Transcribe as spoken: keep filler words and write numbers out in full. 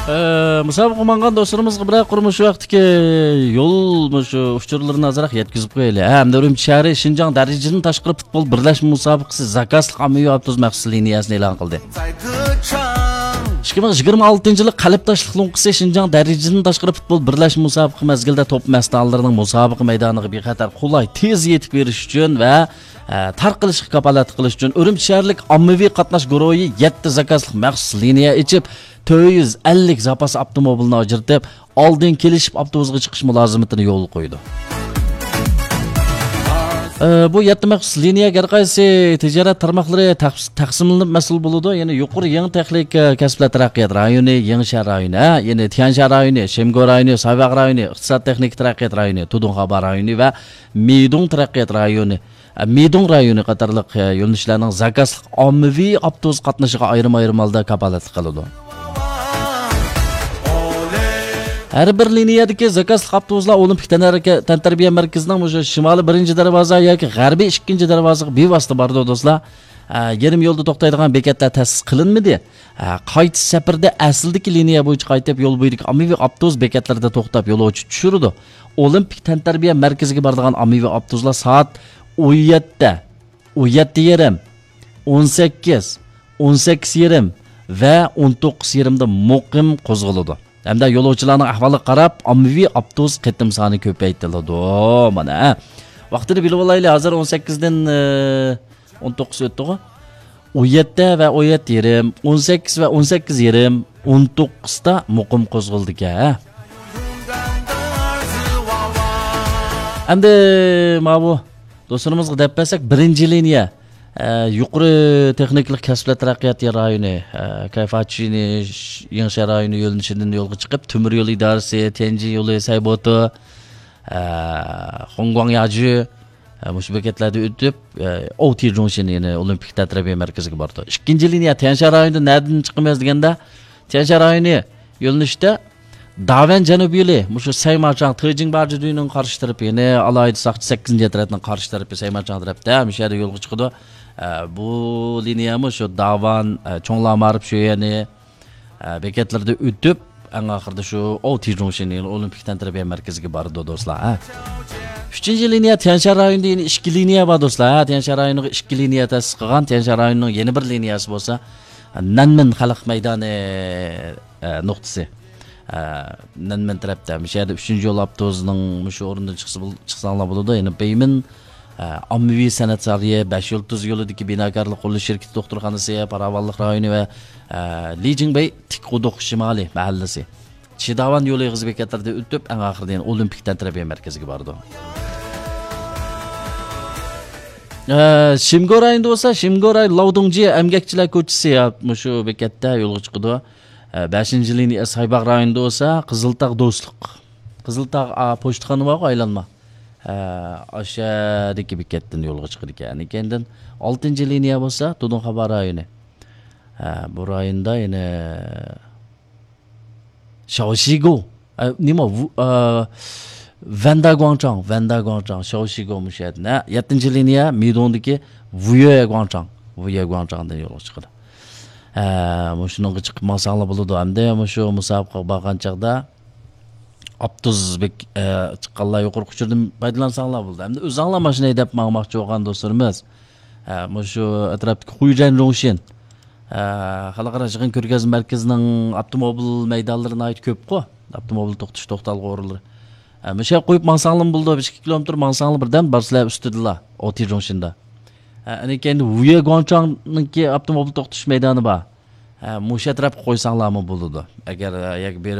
ئە، مۇسابىقە ماڭغان دوستلىرىمىزغا بىرەر قۇر مۇشۇ ۋاقىتتىكى يول مۇشۇ ئۇچۇرلىرىنى ئازراق يەتكۈزۈپ قويايلى. ھە، ھەمدە ئۈرۈمچى شەھىرى شىنجاڭ دەرىجىدىن تاشقىرى پۇتبول بىرلەشمە مۇسابىقىسى زاكازلىق ئاممىۋى ئاپتوبۇس مەخسۇس لىنىيەسىنى ئېلان قىلدى. ئىككى مىڭ يىگىرمە ئالتىنچى يىلى قەلب تاشلىق لوڭقىسى شىنجاڭ دەرىجىدىن تاشقىرى پۇتبول بىرلەشمە مۇسابىقە مەزگىلىدە توپ مەستانىلىرىنىڭ مۇسابىقە مەيدانىغا بىخەتەر، قولاي، تېز يېتىپ بېرىش ئۈچۈن ۋە، ئە، تارقىلىشىغا كاپالەتلىك قىلىش ئۈچۈن ئۈرۈمچى شەھەرلىك ئاممىۋى قاتناش گۇرۇھى يەتتە زاكازلىق مەخسۇس لىنىيە ئېچىپ، تۆت يۈز ئەللىك زاپاس ئاپتوموبىلنى ئاجرىتىپ، ئالدىن كېلىشىپ ئاپتوبۇسقا چىقىش مۇلازىمىتىنى يولغا قويىدۇ. ئە، بۇ يەتتە مەخسۇس لىنىيەگە ھەر قايسى تىجارەت تارماقلىرى تەقس-، تەقسىملىنىپ مەسئۇل بولىدۇ. يەنى يۇقىرى يېڭى تېخنىكا كەسىپلەر تەرەققىيات رايونى، يېڭىشەھەر رايونى، ھە، يەنى تيەنشان رايونى، شىمگو رايونى، سايباغ رايونى، ئىقتىساد تېخنىكا تەرەققىيات رايونى، تۇدۇڭخابا رايونى ۋە مىدۇڭ تەرەققىيات رايونى، ئە، مىدۇڭ رايونى قاتارلىق، ئە، يۆنىلىشلەرنىڭ زاكازلىق ئاممىۋى ئاپتوبۇس قاتنىشىغا ئايرىم-ئايرىم ھالدا كاپالەتلىك قىلىدۇ. ھەر بىر لىنىيەدىكى زاكازلىق ئاپتوبۇسلار ئولىمپىك تەنھەرىكە-، تەنتەربىيە مەركىزىنىڭ مۇشۇ شىمالىي بىرىنچى دەرۋازا ياكى غەربىي ئىككىنچى دەرۋازىغا بىۋاسىتە بارىدۇ، دوستلار. ئە، يېرىم يولدا توختايدىغان بېكەتلەر تەسىس قىلىنمىدى. ئە، قايتىش سەپىرىدە ئەسلىدىكى لىنىيە بويىچە قايتىپ، يول بويىدىكى ئاممىۋى ئاپتوبۇس بېكەتلىرىدە توختاپ، يولۇچى چۈشۈرىدۇ. ئولىمپىك تەنتەربىيە مەركىزىگە بارىدىغان ئاممىۋى ئاپتوبۇسلار سائەت ئون يەتتە، ئون يەتتە يېرىم، ئون سەككىز، ئون سەككىز يېرىم ۋە ئون توققۇز يېرىمدا مۇقىم قوزغىلىدۇ. ھەمدە يولۇچىلارنىڭ ئەھۋالىغا قاراپ، ئاممىۋى ئاپتوبۇس قېتىم سانى كۆپەيتىلىدۇ. مانا، ھە. ۋاقتىنى بىلىۋالايلى، ھازىر ئون سەككىزدىن، ئە، ئون توققۇز ئۆتتىغۇ. ئون يەتتە ۋە ئون يەتتە يېرىم، ئون سەككىز ۋە ئون سەككىز يېرىم، ئون توققۇزدا مۇقىم قوزغىلىدىكەن، ھە. ئەمدى ماۋۇ دوستلىرىمىزغا دەپ بەرسەك، بىرىنچى لىنىيە، ئە، يۇقىرى تېخنىكىلىق كەسىپلەر تەرەققىيات رايونى، ئە، كەيفاچىنى، ش-، يېڭىشەھەر رايونى يۆنىلىشىدىن يولغا چىقىپ، تۆمۈر يول ئىدارىسى، تيەنجىن يولى، سەيبوتو، ئە، خۇڭگۇاڭ ياجۈ، ئە، مۇشۇ بېكەتلەردىن ئۆتۈپ، ئە، ئوتى جۇڭشىن، يەنى ئولىمپىك تەنتەربىيە مەركىزىگە بارىدۇ. ئىككىنچى لىنىيە تيەنشان رايونىدا نەدىن چىقىمىز دېگەندە، تيەنشان رايونى يۆنىلىشتە داۋەن جەنۇبىي يولى، مۇشۇ سەيمارچاڭ، تېجىڭ بارجىدۈينىڭ قارشى تەرىپى، يەنى ئالاھىدە ساقچى سەككىزىنچى ئەترەتنىڭ قارشى تەرىپى، سەيمارچاڭ تەرەپتە، مۇشۇ يەردە يولغا چىقىدۇ. ئە، بۇ لىنىيەمۇ شۇ داۋان، ئە، چوڭلا مائارىپ شۆيەنى، ئە، بېكەتلىرىدە ئۆتۈپ، ئەڭ ئاخىرىدا شۇ ئوتى جۇڭشىن، يەنى ئولىمپىك تەنتەربىيە مەركىزىگە بارىدۇ، دوستلار، ھە. ئۈچىنچى لىنىيە تيەنشان رايونىدا يەنە ئىككى لىنىيە بار، دوستلار، ھە. تيەنشان رايونىغا ئىككى لىنىيە تەسىس قىلغان. تيەنشان رايونىنىڭ يەنە بىر لىنىيەسى بولسا نەنمىن خەلق مەيدانى، ئە، نۇقتىسى. ئە، نەنمىن تەرەپتە. مۇشۇ يەردە ئۈچىنچى يول ئاپتوبۇسىنىڭ مۇشۇ ئورنىدىن چىقسا بول-، چىقساڭلار بولىدۇ. يەنى بېيمىن، ئە، ئاممىۋى سەنئەت سارىيى، بەش يۇلتۇز يولىدىكى بىناكارلىق قۇرۇلۇش شىركىتى دوختۇرخانىسى، پاراۋانلىق رايونى ۋە، ئە، لىجىڭبەي تىك قۇدۇق شىمالىي مەھەللىسى. چىداۋان يولى ئېغىز بېكەتلىرىدىن ئۆتۈپ، ئەڭ ئاخىرىدا يەنە ئولىمپىك تەنتەربىيە مەركىزىگە بارىدۇ. ئە، شىمگو رايونىدا بولسا، شىمگو رايون لاۋدۇڭجى ئەمگەكچىلەر كوچىسى، يا، مۇشۇ بېكەتتە يولغا چىقىدۇ. ئە، بەشىنچى لىنىيە سايباغ رايونىدا بولسا، قىزىلتاغ دوستلۇق. قىزىلتاغ، ئا، پوچتىخانا بارغۇ، ئايلانما. ئە، ئاشەدىكى بېكەتتىن يولغا چىقىدىكەن. كەينىدىن ئالتىنچى لىنىيە بولسا، تۇدۇڭخابا رايونى. ئە، بۇ رايوندا يەنە شاۋشىگو. ئە، نېمە، ۋۇ-، ئە، ۋەندا گۇاڭچاڭ، ۋەندا گۇاڭچاڭ، شاۋشىگو مۇشۇ يەردىن. ھە، يەتتىنچى لىنىيە مىدۇڭدىكى ۋۇيۆ گۇاڭچاڭ، ۋۇيۆ گۇاڭچاڭدىن يولغا چىقىدۇ. ھە، مۇشۇنىڭغا چىقىپ ماڭساڭلار بولىدۇ. ئەمدى مۇشۇ مۇسابىقىگە بارغان چاغدا ئاپتوبۇس بەك، ئە، چىققانلار يۇقىرىقى ئۇچۇردىن پايدىلانساڭلار بولىدۇ. ئەمدى ئۆزۈڭلار ماشىنا ھەيدەپ ماڭماقچى بولغان دوستلىرىمىز، ئە، مۇشۇ ئەتراپتىكى خۇيجەن جۇڭشىن، ئە، خەلقئارا يىغىن كۆرگەزمە مەركىزىنىڭ ئاپتوموبىل مەيدانلىرى ناھايىتى كۆپقۇ. ئاپتوموبىل توختىتىش، توختالغۇ ئورۇنلىرى. ئە، مۇشۇ يەرگە قويۇپ ماڭساڭلارمۇ بولىدۇ. بىر ئىككى كىلومېتىر ماڭساڭلار بىردەم بارسىلەر ئۈستىدىلا، ئوتى جۇڭشىندا. ئە، ئەنە كەينىدە ۋۇيە گۇاڭچاڭنىڭكى ئاپتوموبىل توختىتىش مەيدانى بار. ئە، مۇشۇ ئەتراپقا قويساڭلارمۇ بولىدۇ. ئەگەر، ئە، يەرگە بېرىپ